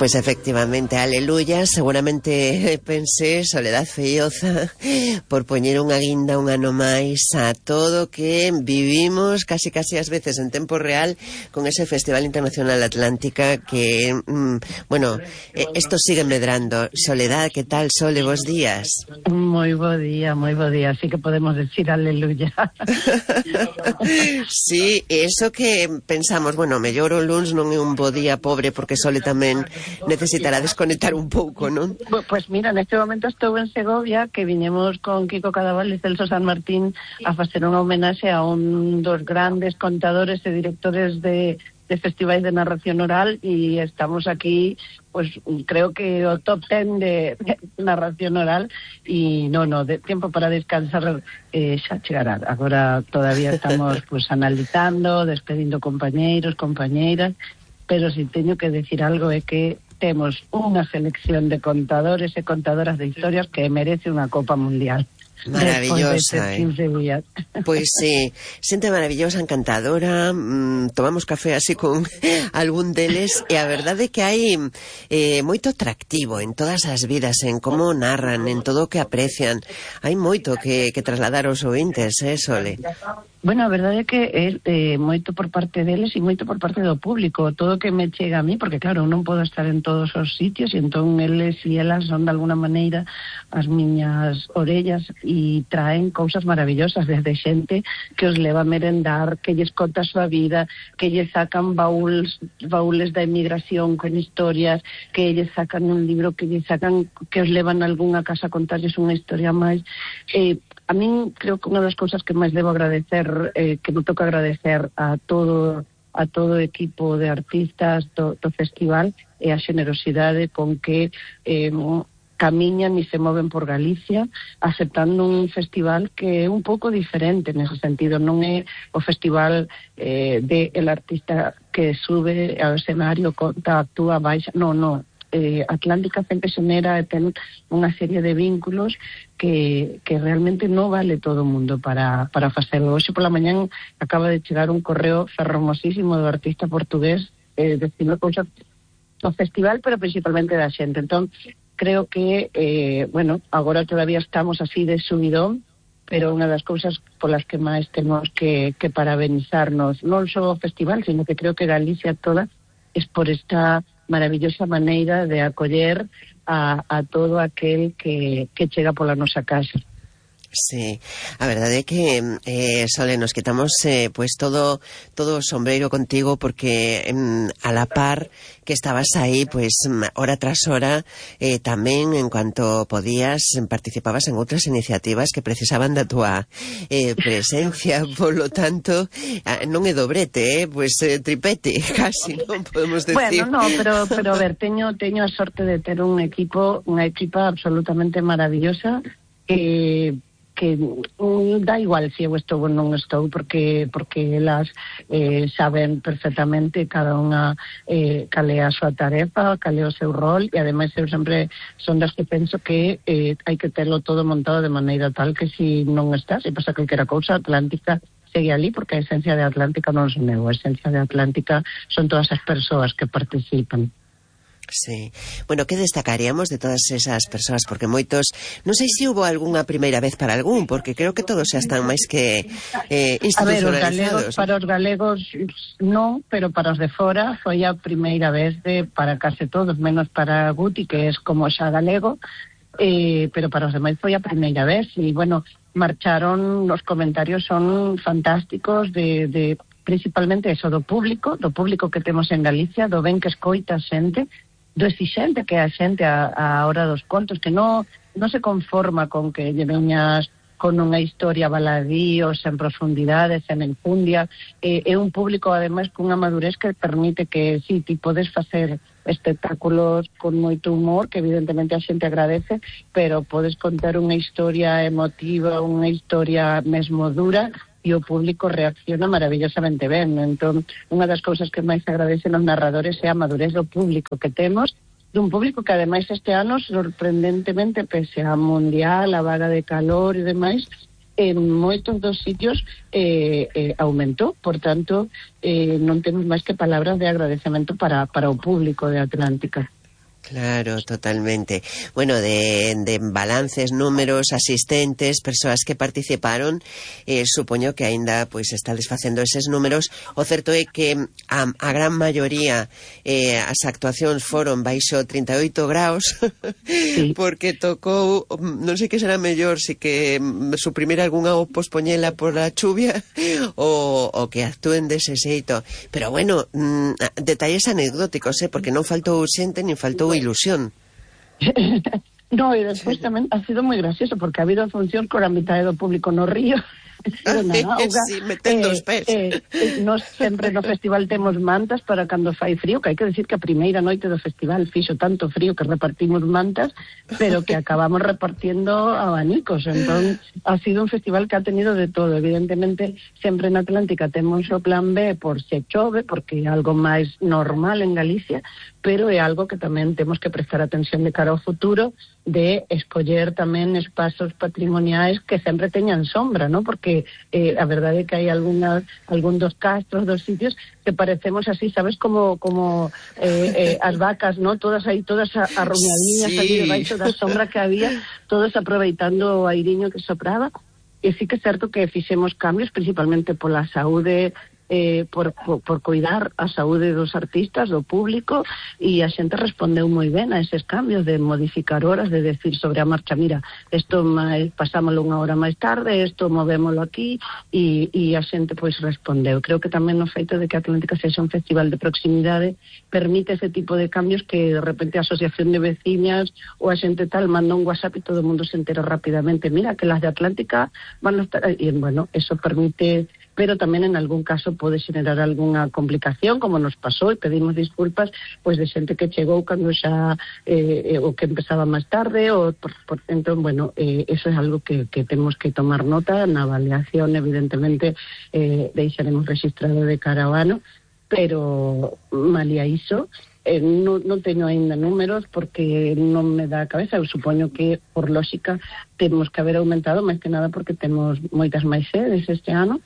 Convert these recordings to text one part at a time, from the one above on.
Pois efectivamente, aleluya, seguramente pensé Soledad Feioza por poñer unha guinda un ano máis a todo que vivimos casi ás veces en tempo real con ese Festival Internacional Atlántica que, bueno, esto sigue medrando. Soledad, que tal, Sole, bos días? Moi bo día, así que podemos decir aleluya. Sí, eso que pensamos, bueno, mellor o luns non é un bo día, pobre, porque Sole tamén necesitará desconectar un pouco, non? Pues mira, neste momento estou en Segovia, que viñemos con Kiko Cadaval e Celso San Martín a facer unha homenaxe a un dos grandes contadores e directores de festivais de narración oral, e estamos aquí, pues creo que o top 10 de narración oral, e de tempo para descansar xa chegará. Agora todavía estamos pues analizando, despedindo compañeiros, compañeiras, pero si teño que decir algo é que temos unha selección de contadores e contadoras de historias que merece unha Copa Mundial. Maravillosa, Pois sí, xente maravillosa, encantadora. Tomamos café así con algún deles e a verdade é que hai moito atractivo en todas as vidas, en como narran, en todo o que aprecian. Hai moito que trasladar aos ointes, Sole? Bueno, a verdade é que é moito por parte deles e moito por parte do público, todo o que me chega a mí, porque claro, non podo estar en todos os sitios, e entón eles e elas son de alguna maneira as miñas orellas e traen cousas maravillosas, desde xente que os leva a merendar, que lles conta a súa vida, que lles sacan baúles da emigración con historias, que lles sacan un libro, que lles sacan, que os levan a algunha casa a contarles unha historia máis. A min creo que unha das cousas que máis debo agradecer, que me toca agradecer a todo o equipo de artistas do festival, é a xenerosidade con que camiñan e se moven por Galicia, aceptando un festival que é un pouco diferente nese sentido. Non é o festival de el artista que sube ao escenario, conta, actúa, baixa, non. Atlántica sempre xenera e ten unha serie de vínculos que realmente non vale todo o mundo para facelo. Hoxe pola mañán acaba de chegar un correo fermosísimo do artista portugués dicindo cousas do festival, pero principalmente da xente. Entón, creo que, agora todavía estamos así de subidón, pero unha das cousas polas que máis temos que parabenizarnos, non só o festival, sino que creo que Galicia toda es por esta maravillosa maneira de acoller a todo aquel que chega pola nosa casa. Sí, a verdade é que Sole, nos quitamos pues todo o sombreiro contigo, porque a la par que estabas aí, pues hora tras hora, tamén en cuanto podías participabas en outras iniciativas que precisaban da túa presencia, polo tanto non é dobrete, pues tripete, casi, non podemos decir. Bueno, pero a ver, teño a sorte de ter unha equipa absolutamente maravillosa, que da igual se eu estou ou non estou, porque elas saben perfectamente cada unha cal é a súa tarefa, cal é o seu rol, e ademais eu sempre son das que penso que hai que terlo todo montado de maneira tal que se non está, se pasa calquera cousa, Atlántica segue ali, porque a esencia de Atlántica non son eu, a esencia de Atlántica son todas as persoas que participan. Sí. Bueno, que destacaríamos de todas esas persoas? Porque moitos, non sei se hubo algunha primeira vez para algún, porque creo que todos xa están máis que institucionalizados. Para os galegos non, pero para os de fora foi a primeira vez para case todos, menos para Guti, que é como xa galego, pero para os demais foi a primeira vez, e bueno, marcharon, os comentarios son fantásticos de principalmente eso, do público que temos en Galicia, do ben que escoita a xente, do exixente que é a xente a hora dos contos, que non se conforma con que lle veñas con unha historia baladío, sen profundidade, sen enfundia. É un público, ademais, cunha madurez que permite que, sí, ti podes facer espectáculos con moito humor, que evidentemente a xente agradece, pero podes contar unha historia emotiva, unha historia mesmo dura, e o público reacciona maravillosamente ben. Entón, unha das cousas que máis agradecen os narradores é a madurez do público que temos, dun público que ademais este ano, sorprendentemente, pese a mundial, a vaga de calor e demais, en moitos dos sitios aumentou. Por tanto, non temos máis que palabras de agradecemento para o público de Atlántica. Claro, totalmente. Bueno, de balances, números, asistentes, persoas que participaron, supoño que aínda pois estades facendo eses números. O certo é que a gran maioría as actuacións foron baixo 38 graus Sí. porque tocou, non sei que será mellor, si que suprimir algunha ou pospoñela por a chuvia ou que actúen dese xeito. Pero bueno, detalles anecdóticos, porque non faltou xente nin faltou ilusión. No, e despois tamén ha sido moi gracioso porque ha habido funcións con a mitad do público no río. Sí, metendo os pés. Nós sempre no festival temos mantas para cando fai frío, que hai que decir que a primeira noite do festival fixo tanto frío que repartimos mantas, pero que acabamos repartiendo abanicos. Entón, ha sido un festival que ha tenido de todo. Evidentemente, sempre na Atlántica temos o plan B por se chove, porque é algo máis normal en Galicia, pero é algo que tamén temos que prestar atención de cara ao futuro, de escoller tamén espazos patrimoniais que sempre teñan sombra, ¿no? Porque a verdade é que hai algún dos castros, dos sitios que parecemos así, sabes, como as vacas, ¿no? Todas aí, todas arruñadiñas, sí, ali debaixo da sombra que había, todos aproveitando o airiño que sopraba. E sí que é certo que fixemos cambios, principalmente pola saúde, por cuidar a saúde dos artistas, do público, e a xente respondeu moi ben a eses cambios de modificar horas, de decir sobre a marcha, mira, isto pasámoslo unha hora máis tarde, isto movémoslo aquí, e a xente pois respondeu. Creo que tamén no feito de que Atlántica sexa un festival de proximidade permite ese tipo de cambios que de repente a asociación de veciñas ou a xente tal manda un WhatsApp e todo o mundo se entera rapidamente, mira, que las de Atlántica van a estar, e bueno, eso permite, pero tamén en algún caso pode xenerar algunha complicación, como nos pasou, e pedimos disculpas pois de xente que chegou cando xa o que empezaba máis tarde, entón, bueno, eso é algo que temos que tomar nota na avaliación, evidentemente deixaremos registrado de cara ao ano, pero malia iso, non teño aínda números porque non me dá a cabeza. Eu supoño que, por lógica, temos que haber aumentado, máis que nada porque temos moitas máis sedes este ano,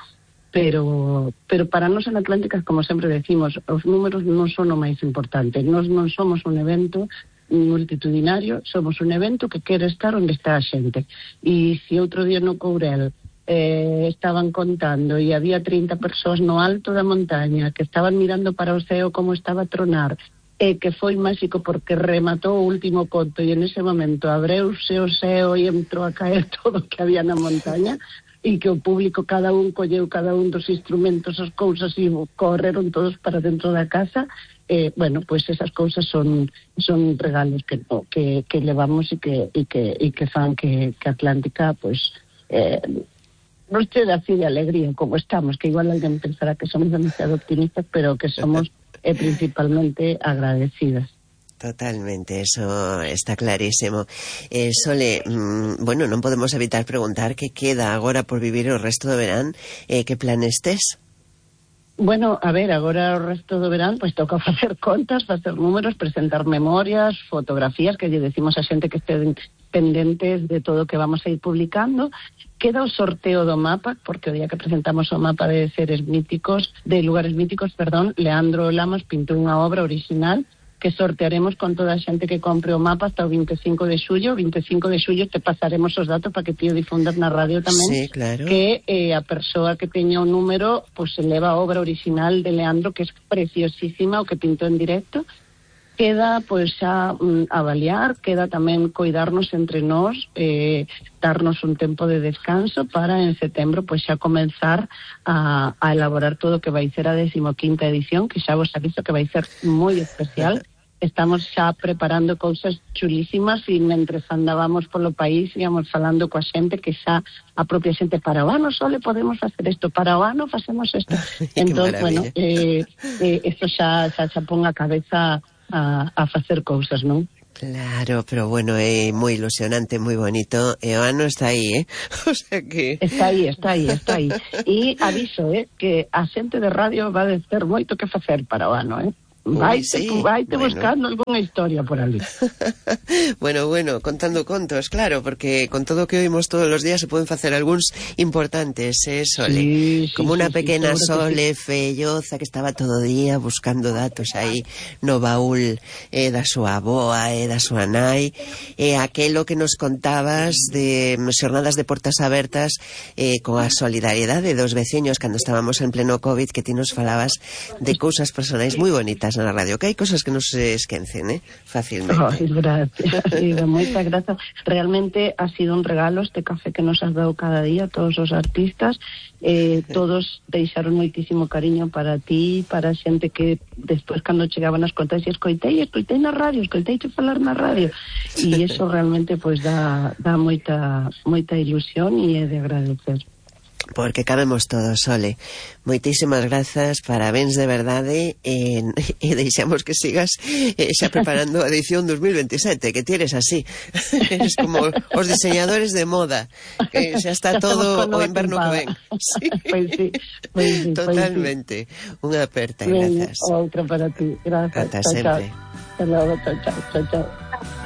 pero para nós en Atlántica, como sempre decimos, os números non son o máis importante. Nós non somos un evento multitudinario, somos un evento que quere estar onde está a xente. E se outro día no Courel estaban contando e había 30 persoas no alto da montaña que estaban mirando para o ceo como estaba a tronar, e que foi máxico porque rematou o último conto e en ese momento abreuse o ceo e entrou a caer todo o que había na montaña, e que o público, cada un colleu cada un dos instrumentos, as cousas, e correron todos para dentro da casa. Bueno, pois esas cousas son regalos que levamos e que fan que Atlántica, pois, non che dá así de alegría como estamos, que igual alguén pensará que somos demasiado optimistas, pero que somos principalmente agradecidas. Totalmente, eso está clarísimo. Sole, bueno, non podemos evitar preguntar que queda agora por vivir o resto do verán, que planes tes? Bueno, a ver, agora o resto do verán pois toca facer contas, facer números, presentar memorias, fotografías, que lle decimos a xente que estén pendentes de todo o que vamos a ir publicando. Queda o sorteo do mapa, porque o día que presentamos o mapa de seres míticos, de lugares míticos, Leandro Lamas pintou unha obra original que sortearemos con toda a xente que compre o mapa hasta o 25 de xullo. O 25 de xullo te pasaremos os datos para que ti o difundas na radio tamén. Sí, claro. Que a persoa que teña o número pues se leva a obra original de Leandro, que é preciosísima, o que pintou en directo. Queda pois xa avaliar, queda tamén coidarnos entre nós, darnos un tempo de descanso para en setembro pois xa comenzar a elaborar todo o que vai ser a 15ª edición, que xa vos aviso que vai ser moi especial. Estamos xa preparando cousas chulísimas e mentres andábamos polo país íamos falando coa xente que xa a propia xente, para o ano só le podemos facer isto, para o ano facemos isto. Entón, bueno, isto xa pon a cabeza a facer cousas, non? Claro, pero bueno, é moi ilusionante, moi bonito, e o ano está aí, o sea que... Está aí. E aviso, que a xente de radio va a ter moito que facer para o ano, Vaite buscando alguna historia por ali. Bueno, contando contos, claro, porque con todo o que oímos todos os días se poden facer algúns importantes, Sole? Como unha pequena Sole felloza que estaba todo o día buscando datos aí no baúl da súa avoa e da súa nai, e aquelo que nos contabas de xornadas de portas abertas coa solidariedade dos veciños cando estábamos en pleno COVID, que ti nos falabas de cousas personais moi bonitas na radio, que hai cosas que non se esquecen, fácilmente. Gracias, moitas grazas. Realmente ha sido un regalo este café que nos has dado cada día, todos os artistas, todos deixaron moitísimo cariño para ti, para a xente que despois cando chegaban as contas e escoitei na radio, escoiteiche falar na radio, e iso realmente pois dá moita ilusión e é de agradecer. Porque cabemos todos, Sole. Moitísimas grazas, parabéns de verdade, e deixamos que sigas xa preparando a edición 2027, que ti eres así. Eres como os diseñadores de moda, que xa está todo o inverno que ven. Sí. Pois sí. Totalmente. Unha aperta, grazas. Outra para ti, grazas. Ata sempre. Hasta logo, chao.